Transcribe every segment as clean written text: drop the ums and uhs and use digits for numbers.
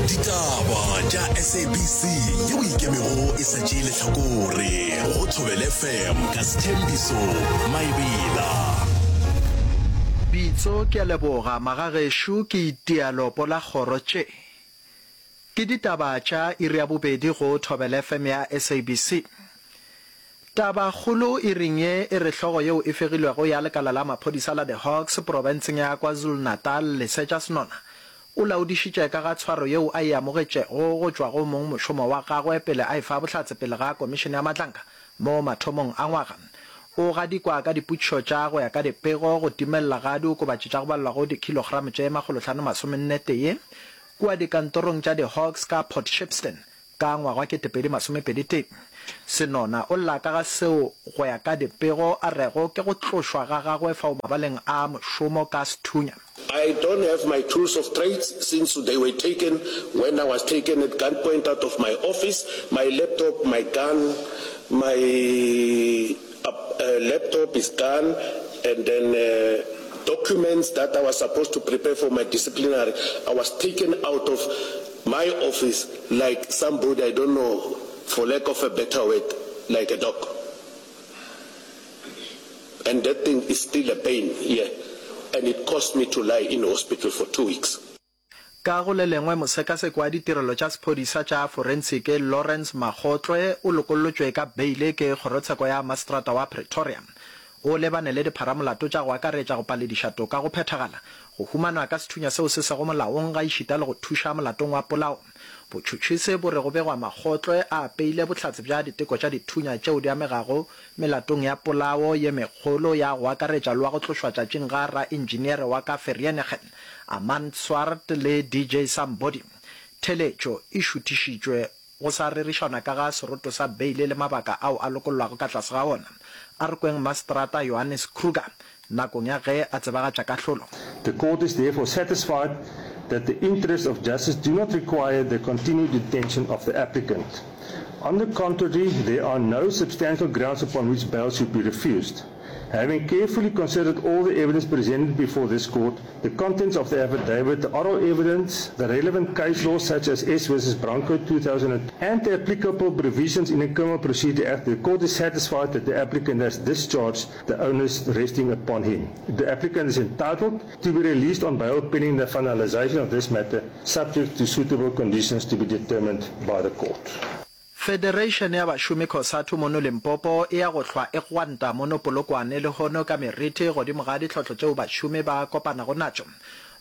Ditaba tša SABC yeo e ikemego e sa tšee lehlakore go Thobela FM ka Sthembiso Maebela. Bitso ke a leboga magagešo ke itia lopo la kgoro tše. Ke ditaba tša iri ya bobedi go Thobela FM ya SABC. Taba kgolo iring ye e re hlogo yeo e fegilwego ya lekala la maphodisa la The Hawks profenseng ya KwaZulu-Natal Lesetša Senona o laodišitše ka ga tshwaro yeo a e amogetšego go tšwa go mongmošomo wa gagwe pele a efa bohlatse pele ga Komišene ya Matlanka mo mathomong a ngwaga. O gadikwa ka dipotšišo tša go ya ka dipego go timelela ga diokobatši tša go balelwa go dikhilogramo tše 541 kua dikantorong tša The Hawks ka Port Shepstone Ka ngwaga wa 2021, Senona o lla ka ga seo go ya ka dipego a rego ke go tlošwa ga gagwe fao mabaleng a mošomo ka sethunya. I don't have my tools of trades since they were taken when I was taken at gunpoint out of my office, my laptop, my gun, my laptop is gone and then documents that I was supposed to prepare for my disciplinary, I was taken out of my office like somebody I don't know for lack of a better word like a dog and that thing is still a pain here and it cost me to lie in hospital for 2 weeks. Ka go le lengwe, mosekaseki wa ditirelo tša sephodisa tša forensiki Lawrence Makgotlwe o lokollotšwe ka beile ke kgorotsheko ya maseterata wa Pretoria. O lebane le dipharamolato tša go akaretša go palediša toka go phethagala, go humanwa ka sethunya seo se sego molaong gaešita le go thuša molatong wa polao. Botšhotšhisi bo re go begwa Makgotlwe a apeile bohlatse bja diteko tša dithunya tšeo di amegago melatong ya polao ye megolo ya go akaretša le wa go tlošwa tšatšing ga raentšineere wa ka Vereeniging, Armand Swart le DJ Sambody. Theletšo e šuthišitšwe Go sa rerišanwa ka ga seroto sa beile le mabaka ao a lokollwago ka tlase ga ona. A re kweng Maseterata Johannes Kruger nakong ya ge a tsebagatša kahlolo. The court is therefore satisfied that the interests of justice do not require the continued detention of the applicant. On the contrary, there are no substantial grounds upon which bail should be refused. Having carefully considered all the evidence presented before this court, the contents of the affidavit, the oral evidence, the relevant case law such as S versus Branco 2000 and the applicable provisions in the Criminal Procedure Act, the court is satisfied that the applicant has discharged the onus resting upon him. The applicant is entitled to be released on bail pending the finalization of this matter, subject to suitable conditions to be determined by the court. Federation ya bašomi Cosatu mono Limpopo e ya go hlwa e gwanta mono Polokwane lehono ka meriti godimo ga ditlhohlo tšeo bašomi ba kopanago natšo.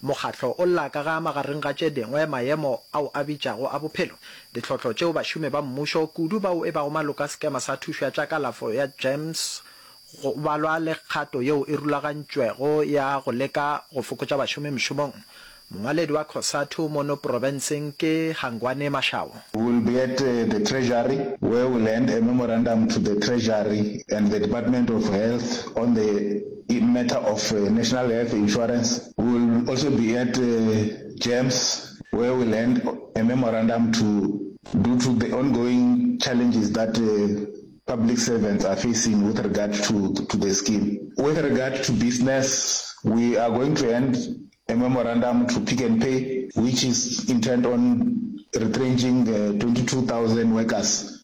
Mokgatlo o lla ka ga magareng ga tše dingwe maemo ao a bitšago a bophelo, ditlhohlo tšeo bašomi ba mmušo, kudu bao e bago maloko a sekema sa thušo ya tša kalafo ya GEMS Go balwa le kgato yeo e rulagantšwego ya go leka go fokotša bašomi mešomong. Mongwaledi wa Cosatu mono profenseng ke Hangwani Mashao. We will be at the Treasury where we will hand a memorandum to the Treasury and the Department of Health on the matter of National Health Insurance. We will also be at GEMS where we will hand a memorandum to due to the ongoing challenges that public servants are facing with regard to, to the scheme. With regard to business, we are going to hand a memorandum to Pick n Pay, which is intent on retrenching 22,000 workers.